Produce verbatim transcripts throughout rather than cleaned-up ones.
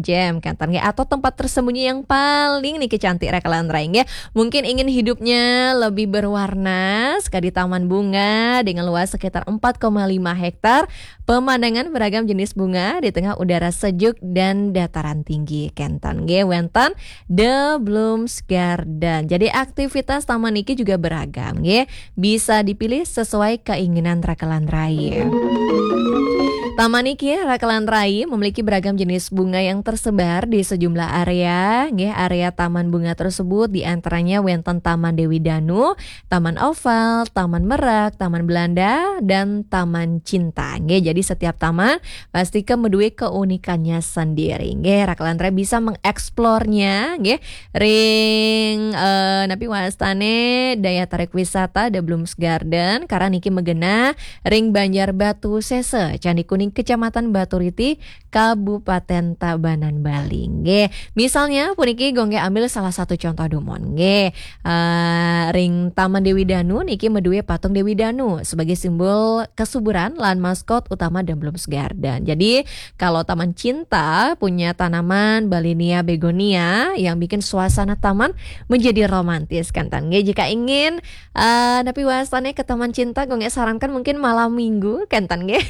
Cem, kenten nggih, atau tempat tersembunyi yang paling niki cantik raka lan rai nggih. Mungkin ingin hidupnya lebih berwarna, sekadi taman bunga dengan luas sekitar empat koma lima hektar, pemandangan beragam jenis bunga di tengah udara sejuk dan dataran tinggi. Kenten nggih, wenten The Blooms Garden. Jadi aktivitas taman niki juga beragam nggih. Bisa dipilih sesuai keinginan raka lan rai. Taman niki raka lan rai memiliki beragam jenis bunga yang tersebar di sejumlah area. Nggih, area taman bunga tersebut di antaranya wenten Taman Dewi Danu, Taman Oval, Taman Merak, Taman Belanda, dan Taman Cinta. Nggih, jadi setiap taman pasti ke meduwe keunikannya sendiri. Nggih, raka lan rai bisa mengeksplornya nggih ring eh, napi wastane daya tarik wisata The Blooms Garden, karena niki megena ring Banjar Batu Sese, Candi Kuning, Kecamatan Baturiti, Kabupaten Tabanan, Bali. Nggih, misalnya puniki gonggih ambil salah satu contoh dumun nggih. Eh, ring Taman Dewi Danu niki meduwe patung Dewi Danu sebagai simbol kesuburan lan maskot utama The Blooms Garden. Jadi kalau Taman Cinta punya tanaman Balinia begonia yang bikin suasana taman menjadi romantis, kenten nggih. Jika ingin eh, napi wastane ke Taman Cinta, gonggih sarankan mungkin malam minggu, kenten nggih.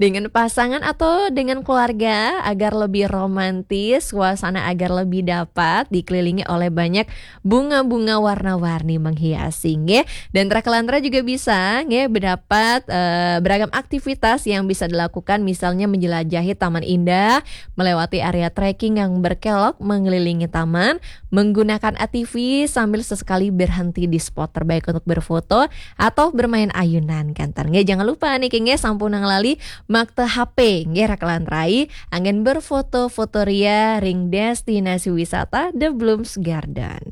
Dengan pasangan atau dengan keluarga agar lebih romantis, suasana agar lebih dapat dikelilingi oleh banyak bunga-bunga warna-warni menghiasi nggih. Dan raka lan rai juga bisa nggih mendapat eh, beragam aktivitas yang bisa dilakukan, misalnya menjelajahi taman indah, melewati area trekking yang berkelok mengelilingi taman, menggunakan A T V sambil sesekali berhenti di spot terbaik untuk berfoto atau bermain ayunan, kenten nggih. Jangan lupa niki nggih, sampunang lali makta H P nggih raka lan rai anggen berfoto-foto ria ring destinasi wisata The Blooms Garden.